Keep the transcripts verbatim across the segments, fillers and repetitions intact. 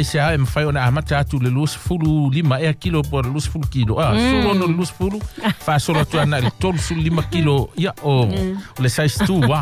Se a e mawhai o na amata atu le luasefulu lima ea kilo po le luasefulu kilo. Ah, mm. Solo no le luasefulu, whaasolo atu ana le tolusefulu lima kilo, ia o, o le size two, wa.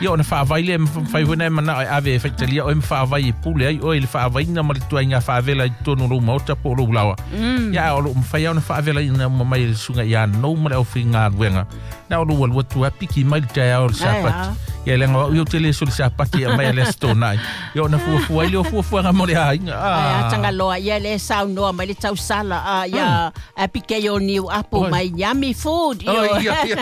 Ia o na whaawai le, mwhai hona e mana o e ave e whaitalia o e mwhaawai e pule ai, o e le whaawai ma le tua inga whaavela i tonu lou maota po lou lawa. Mm. Ia o lo mwhai au na whaavela i na mamai le sunga ia nou ma le au whinga ruenga. Na o lo walua tua piki mai le tai ao le sapati. Ia lenga wa uio tele so le sapati a mai le stona. Ia o na fuafua i le o fuafua nga mo le ainga. Ah. Ai tanga ia le saunoa mai le tausala a ia Abigail New Apple mai yummy food. Oh, ia ia.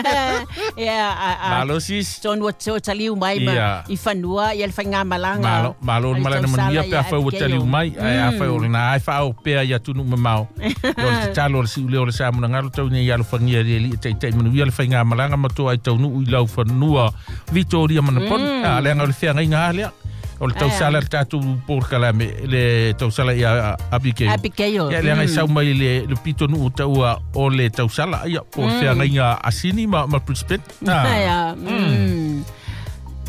Ia malo sis. Tonu o taliu mai ma i fanua ia le whainga malanga. Malo malo malanga manuia pe afai o taliu mai ai afai o na ai whao pea ia tunu mamao. Ia o le tatalo o le siule o le samuna ngalo tau nei alo whangia le li te te manuia le whainga malanga matoa i taunu i lau fanua Victoria Manapon. A le anga o le whianga inga alea. O le tausala le tātou pōrkalame, le tausala ia Abigail. Abigail. Ia le anga i sau mai le, le pito nuu taua o le tausala, ia, po le whianga inga Asini ma, ma Brisbane. Ah. Mm.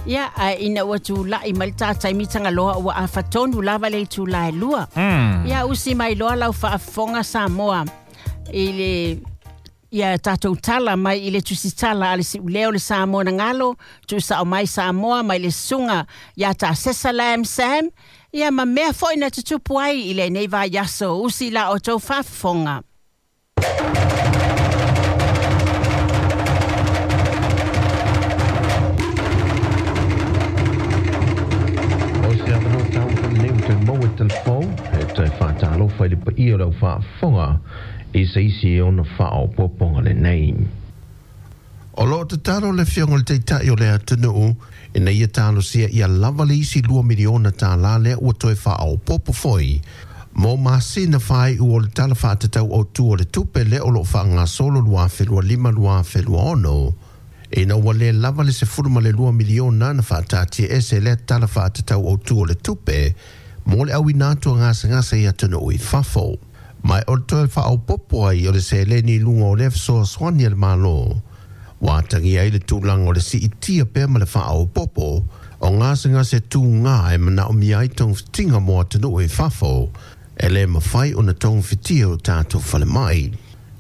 Ia, a ina ua tūlai mai le tātai mitanga loa ua a whatonu lava le tūlai lua. Mm. Ia usi mai loa lau whaafonga Samoa i le... Ia tātou tala mai i le tusitala a le siuleo le Samoa na ngalo, tu sao mai Samoa mai le sunga ia tā sesa lam Sam, ia ma mea foi na tutupu ai i le nei vai aso usi la o tau whaafonga. O se awano tau whanau te maua telefon, e te whātālofa i le paia lau whaafonga, i se isi e ona whaao poponga le nei. O loo te taro le whionga le teitai o le atunuu, e nei e talo sia ia lava le isi lua miliona tā la lea ua toe whaao popo foi. Mō masina whai ua le tala whaatatau o tu o le tupe le o loo whaanga solo lua whenua lima lua whenua ono. E na ua le lava le se furu ma le lua miliona na whaatatia ese lea tala whaatatau o tu o le tupe, mō le au inatua ngasa ngasa i atunuu i fafo. Mai o le toe whaopopo ai o le seleni lunga o le fesoasoani a le malo. Wātangi ai le tūlanga o le siitia pea ma le whaopopo o ngasengase tū ngā e manao mi ai tongfitinga mō atunuu e fafo e le mawhai o na tongfitia o tātou whale mai.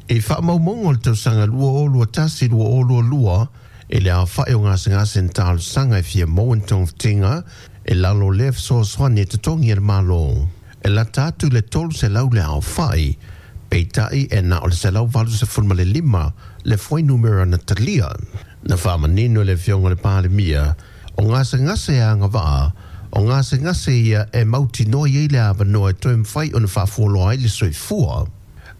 E whaamaumonga o le tausanga lua o lua tasi lua o lua lua e le awhai o ngasengase ntālusanga e fia mō tongfitinga e lalo le fesoasoani e totongi e le malo. E la tātu le tolu se lau le au whai, peitai e na o le se lau valu se fulma le lima, le fwai numera na talia. Na whamanino le whionga le pālemia, o ngase ngase a ngā waa, o ngase ngase ia e mauti noa i le awa noa e toe mwhai o na whaafuoloa ai le soifua.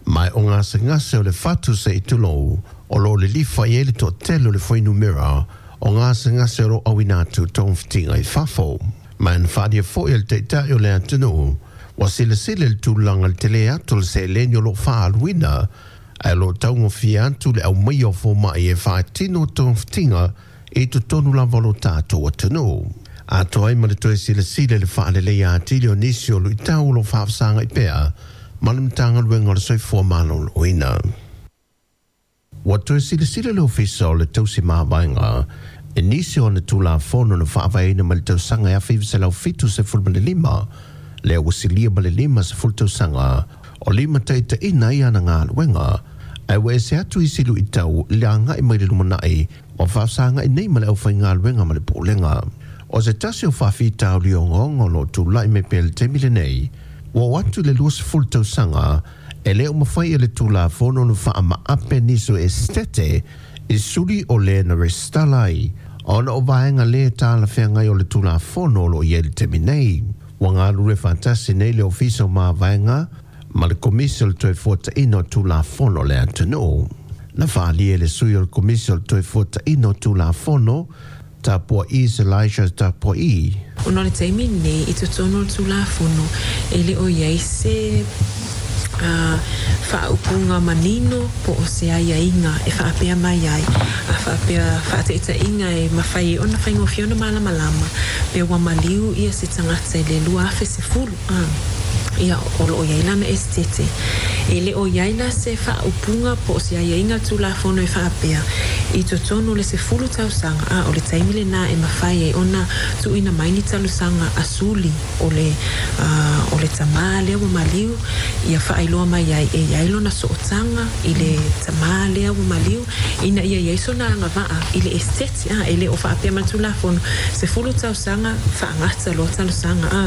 Mai o ngase ngase o le whatu se i tulou, o lo le lifa i e le toatele o le fwai numera, o ngase ngase o ro awinatu tongfitinga i fafo. Mai na whadia fo i le teitai o le atunuu, wa sile sile le tūlanga le tele atu le seleni o lo whaaluina, a lo taungo fia atu le au mai o fōmai e whaatino tongfitinga e totonu lava lo tātou atunuu. Ato ai ma le toe sile sile le whaalelei atili o nisi o luitau lo whaafsanga i pea, ma le mtanga luenga o le soifua maloloina. Wa toe sile sile le ofisa o le tausi mahawaenga, e nisi o na tūlafono na whaavaina ma le tausanga e awhiwise lau fitu se fulma le lima, le wasilia ma le lima se fultau sanga o lima taita ina i ana ngā luenga ai wa ese atu i silu i tau le anga i mai le lumanai o whaasanga i nei ma le au whai ngā luenga ma le pōlenga. O se tasi o whawhi tau li ongongo lo tūlai me pele te mile nei wa watu le lua se fultau sanga e leo mawhai e le tūla whono no wha ama ape niso e stete i suli o le na restalai ona o vaenga le tāla whengai o le tūla whono lo i e le te nei. Wa ngā rure whantasi nei le ofisa o mā vaenga, ma le komisi o le toe fuataina o Tulafono le atunuu. Na whaalia le sui o le komisi o le toe fuataina o Tulafono, Tapua i Elijah Tapua i. O no le taimi nei i totonu o le Tulafono e le o iai se uh, whaaupunga manino po o se ai ainga e whaapea mai ai a whaapea whaateita inga e mawhai ona whaingofia ona malamalama pe ua maliu ia se tangata i le lua afe se fulu ah. Ia o lo ia lana estete E le o iai la se faaupuga po o se aiaiga tulafono e faapea i totonu o le sefulu tausaga a o le taimi lenā e mafai ai ona tuuina mai ni talosaga a suli o le uh, o le tamā lea ua maliu ia faailoa mai ai e iai lona sootaga i le tamā lea ua maliu ina ia iai sona agavaa i le esiteti a e le o faapea ma le tulafono sefulu tausaga faagata loa talosaga a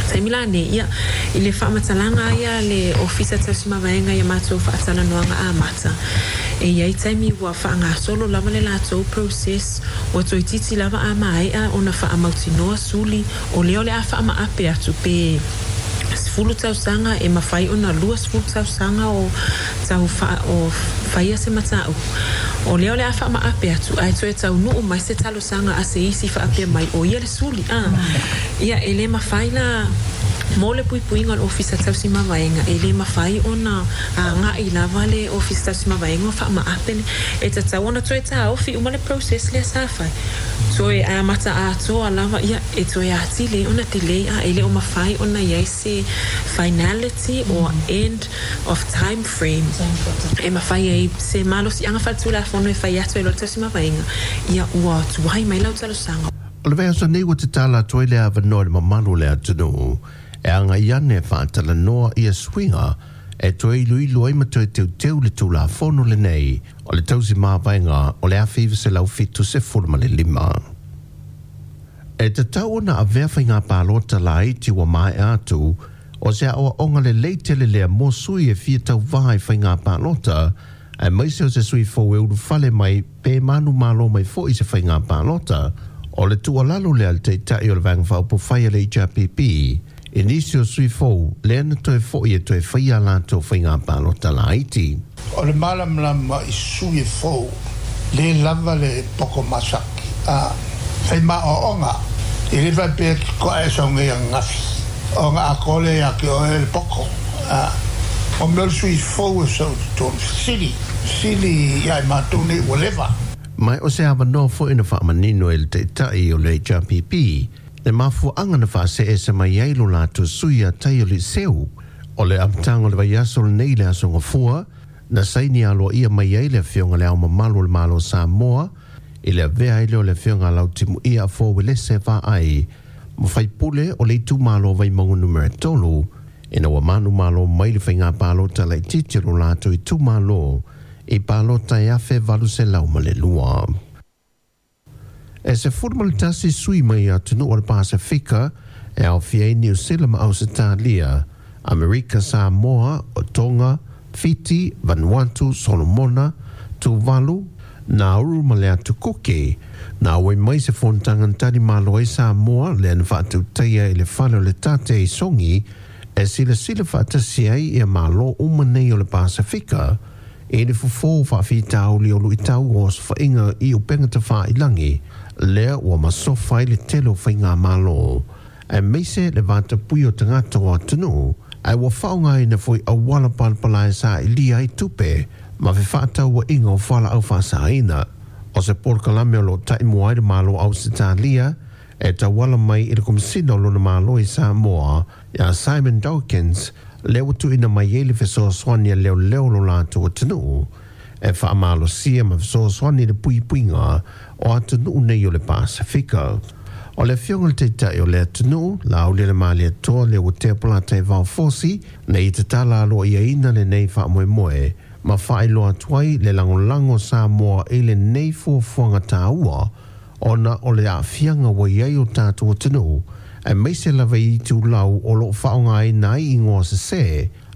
taimi la nei ia i le faamatalaga ia le ofisa tausimavaega ia matou faatalanoaga amata e iai taimi ua faagasolo lava le latou process ua toeititi lava a maea ona faamautinoa suli o lea o le a faamaape atu pe sefulu tausaga e mafai ona lua sefulu tausaga o tau fa, o faia se mataupu o lea o le a faamaape atu ae toe taunuu mai se talosaga a se isi faapea mai o ia le suli a ia e lē mafai la mo le puipuiga o le ofisa tausimavaega e lē mafai ona aga'i lava le ofisa tausimavaega o faamaape le e tatau ona toe taofi uma le process lea sa fai toe amata atoa lava ia e toe atili ona telei a e le o mafai ona iai se finality or end of time frame e mafai ai se malosiaga faaletulafono e fai atu e lo le tausimavaega ia ua tuai mai lau talosaga. O le vaiaso nei ua tatala atu ai le avanoa i le mamalu o le atunuu e agai ane e faatalanoa ia suiga e toe iloilo ai ma toe teuteu le tulafono lenei o le tausi mavaega o le afe iva selau fitu sefulu ma le lima. E tatau ona avea faiga palota laiti ua maea atu o se aoaoga lelei tele lea mo sui e fia tauvā i faiga palota aemaise o se sui fou e ulufale mai pe manumalo mai fo'i se faiga palota. O le tuualalo lea a le Taitai o le Vaega Faaupufai a le H R P P i nisi o sui fou lea na toe fo'i e toe faia latou faiga palota laiti. O le malamalama i sui e fou le lava le poko masaki a fai maoaoga i le faapea ki koa e saugei ananafi o ga akole ia ke oe le poko a o mea o le sui fou e sau totonu fesili fesili ia i matou nei ua leva. Mai o se avanoa fo'i na faamanino e le Taitai o le H R P P le mafuaaga na faaseese mai ai lo latou sui a tai o le seu o le amataga o le vaiaso lenei le aso gafua na saini aloaia mai ai le afioga le Ao Mamalu o le Malo o Samoa i le avea ai lea o le afioga Lautimuia Afoa Uelese Vaai ma faipule o le itumalo Vaimauga numera tolu ina ua manumalo mai le faiga palota laitiiti o lo latou itumalo i palota e afe valu selau ma le lua. E sefulu ma le tasi sui mai atunuu o le Pasifika e aofia ai Niu Sila ma Ausetalia, Amerika, Samoa, o Tonga, Fiti, Vanuatu, Solomona, Tuvalu, Nauru ma le Atu Kuki. Na auai mai se fonotaga na tali malo ai Samoa lea na faatautaia i le fale o le tate i Sogi e silasila faatasi ai ia malo uma nei o le Pasifika i le fofo faafitauli o luitau o osofaiga i upega tafailagi lea ua masofa ai le tele o faigamalo aemaise le vatapui o tagata o atunuu ae ua faaaogaina foi auala palapala e sailiia ai tupe ma fefaatauaiga o fualaau faasaina. O se polokalame o loo taimua ai le Malo Ausetalia e tauala mai i le Komisina o lona Malo i Samoa ia Simon Dawkins lea ua tuuina mai ai le fesoasoani a leoleo lo latou atunuu e faamalosia ma fesoasoani i le puipuiga o atunuu nei o le Pasifika. O le afioga i le Taitai o le atunuu Lauli le Malietoa lea ua tea palata e vaofosi nei tatala aloaiaina lenei faamoemoe ma faailoa atu ai le lagolago o Samoa i lenei fuafuaga tāua ona o le aafiaga ua iai o tatou atunuu aemaise lava i itulau o loo faaaogaina ai igoa sesē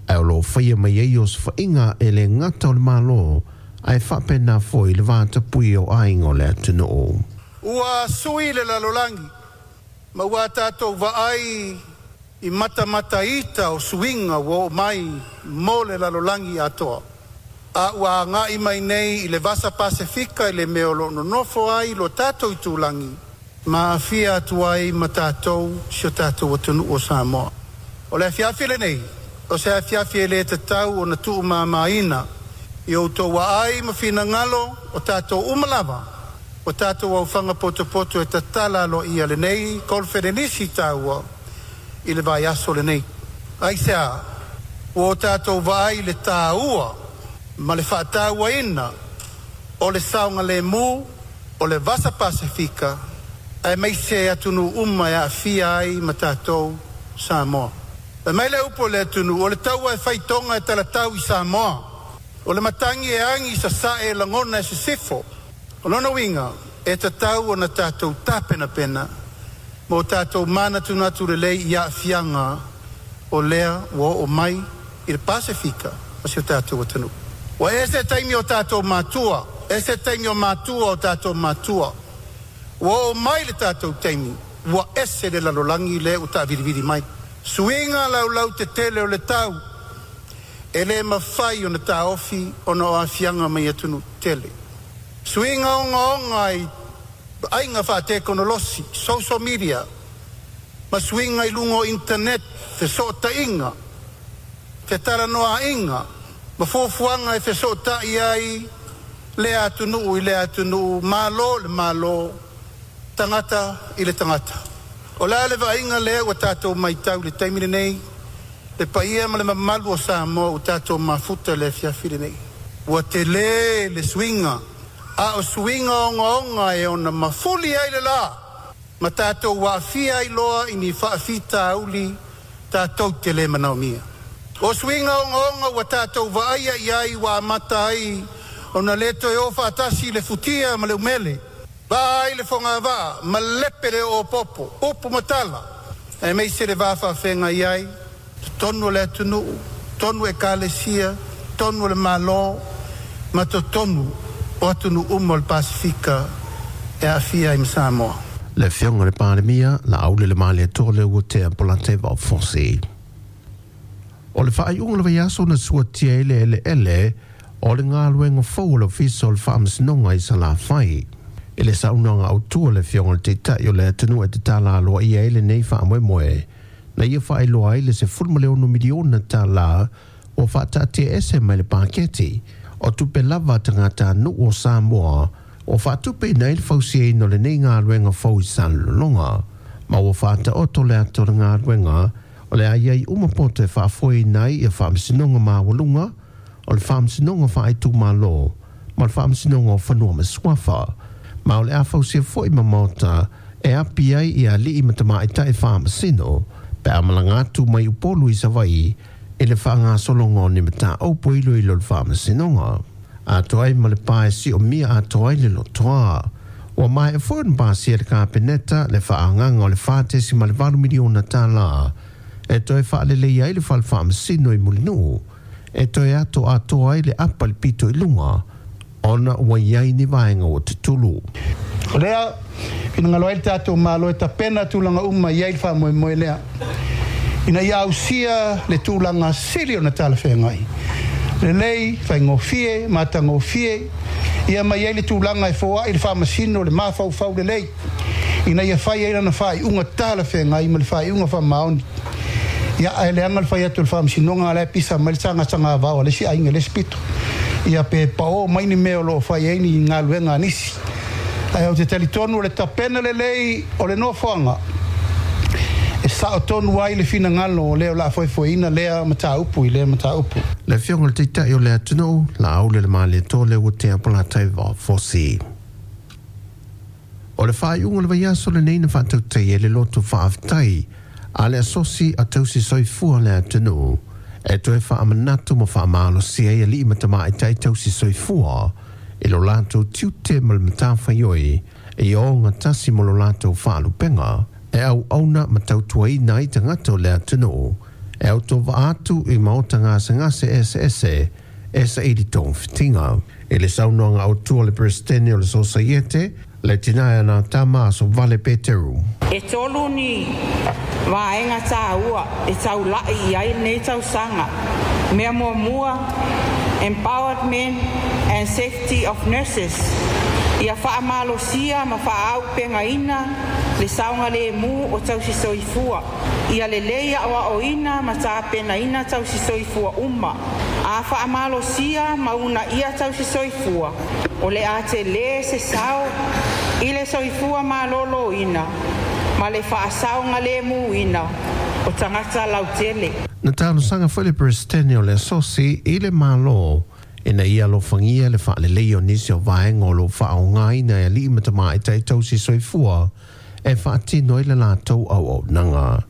ae o loo faia mai ai osofaiga e le gata o le Malo ae faapena foi le vatapui o aiga o le atunuu. Ua sui le lalolagi ma ua tatou vaai i matamataita o suiga ua oo mai mo le lalolagi atoa. A ua agai mai nei i le vasa Pasefika i le mea o loo nonofo ai lo tatou itulagi ma aafia atu ai ma tatou si o tatou atunuu o Samoa. O le afiafi lenei, o se afiafi e lē tatau ona tuumāmāina i outou aai ma finagalo o tatou uma lava o tatou aufaga potopoto e tatala aloaia lenei kolofelenisi taua i le vaiaso lenei. Aisea Ua o tatou vaai le tāua ma le faatauaina o le saogalemu o le Vasa Pasefika aemaise atunuu uma e aafia ai ma tatou Samoa. E mai le upu o le atunuu, o le taua e faitoga e talatau i Samoa. O le matagi e agi sasae e lagona e sisifo. O lona uiga, e tatau ona tatou tapenapena mo tatou manatunatu lelei i aafiaga o lea ua oo mai i le Pasefika ma si o tatou atunuu. Ua ese taimi o tatou matua, ese taimi o matua o tatou matua. Ua oo mai le tatou taimi, ua ese le lalolagi lea ua taavilivili mai. Suiga laulau tetele o le tau, e le mafai ona taofi ona o aafiaga mai atunuu tele. Suiga ogaoga i aiga faatekonolosi, social media, ma suiga i luga o internet, fesootaiga, fetalanoaiga, ma fuafuaga e fesootai ai lea atunuu i lea atunuu, malo le malo, tagata i le tagata. O le a le vaaiga lea ua tatou matau i le taimi lenei, le paia ma le mamalu o Samoa ua tatou mafuta le afiafi lenei. Ua tele le suiga, a o suiga ogaoga e ona mafuli ai le la, ma tatou aafia ai loa i ni faafitauli tatou te le manaomia. O suiga ogaoga ua tatou vaaia i ai ua amata ai ona le toe o faatasi le futia ma le umele, vaa ai le fogavaa ma lepe le oopopo, upu ma tala, aemaise le va faafeagai ai, totonu o le atunuu, totonu ekalesia, totonu o le Malo, ma totonu o atunuu uma o le Pasefika e aafia ai ma Samoa. Le afioga le Palemia, Laaulialemalietoa Leuatea Polataivao Fosi. O le faaiuga le vaiaso na suatia ai le eleele o le galuega fou o le Ofisa o le Faamasinoga i Salafai. I le saunoaga autu a le afioga le Taitai o le atunuu e tatala aloaia ai lenei faamoemoe, na ia faailoa ai le sefulu ma le ono miliona tālā ua faataatiaese mai le paketi o tupe lava a tagatanuu o Samoa o faatupeina ai le fausiaina o lenei galuega fou i Salelologa. Ma ua faataoto le ata o le galuega o le a i ai uma poto e faafoeina ai ia faamasinoga maualuga o le faamasinoga faaitumalo ma le faamasinoga o fanua ma suafa. Ma o le a fausia foi ma maota e api ai ia alii ma tamaitai faamasino pe a malaga atu mai Upolu i Savaii i le faagasologa o ni mataupu iloilo o le faamasinoga. Atoa ai ma le pa e siomia atoa ai le lotoa. Ua maea foi ona pasia le Kapeneta le faaagaga o le fa tesi ma le valu miliona tālā e toe faalelei ai le fale faamasino i Mulinuu e toe ato atoa ai le apa le pito i luga ona ua i ai ni vaega ua tutulu. O lea, finagalo ai le tatou Malo e tapena tulaga uma i ai le faamoemoe lea, ina ia ausia le tulaga sili ona talafeagai. Lelei, faigofie, matagofie, ia mai ai le tulaga e foai le faamasino le mafaufau lelei, ina ia fai ai lana faaiuga talafeagai ma le faaiuga faamaoni. Ia ae leaga le fai atu o le faamasinoga la e pisa mai le sagasaga vao a le isi aiga le isi pito. Ia pe pao mai ni mea o loo fai ai ni galuega a nisi. Ae ou te talitonu o le tapena lelei o le nofoaga e sao tonu ai le finagalo o lea o le a foefoeina lea mataupu i lea mataupu. Le afioga le Taitai o le atunuu, Laaulialemalietoa Leuatea Polataivao Fosi. O le faaiuga o le vaiaso lenei na faatautai ai le loto faafetai a le asosi a tausi soifua le atunuu e toe faamanatu ma faamalosia ai alii ma tamaitai tausi soifua i lo latou tiute ma le matafaioi e ogatasi ma lo latou faalupega e auauna ma tautuaina ai tagata o le atunuu e autovaa atu i maota gasegase eseese e saili togafitiga. I le saunoaga autu a le Peresetene o le Sosaiete, le tina e na tama Asovale Peteru. E tolu ni vaega tāua e taulai i ai lenei tausaga. Mea muamua, empowerment and safety of nurses. Ia faamalosia ma faaaupegaina le saogalemu o tausi soifua. Ia lelei aoaoina ma tapenaina tausi soifua uma. A faamalosia ma uunaia tausi soifua, o le a tele se sao i le soifua maloloina ma le faasaogalemuina o tagata lautele. Na talosaga foi le Peresetene o le Asosi i le Malo ina ia alofagia le faaleleia o nisi o vaega o loo faaaogaina e alii ma tamaitai tausi soifua e faatino ai le latou auaunaga.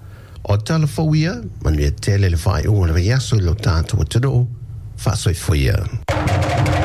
O tala fou ia, manuia tele le faaiuga o le vaiaso i lo tatou atunuu, faasoifua ia.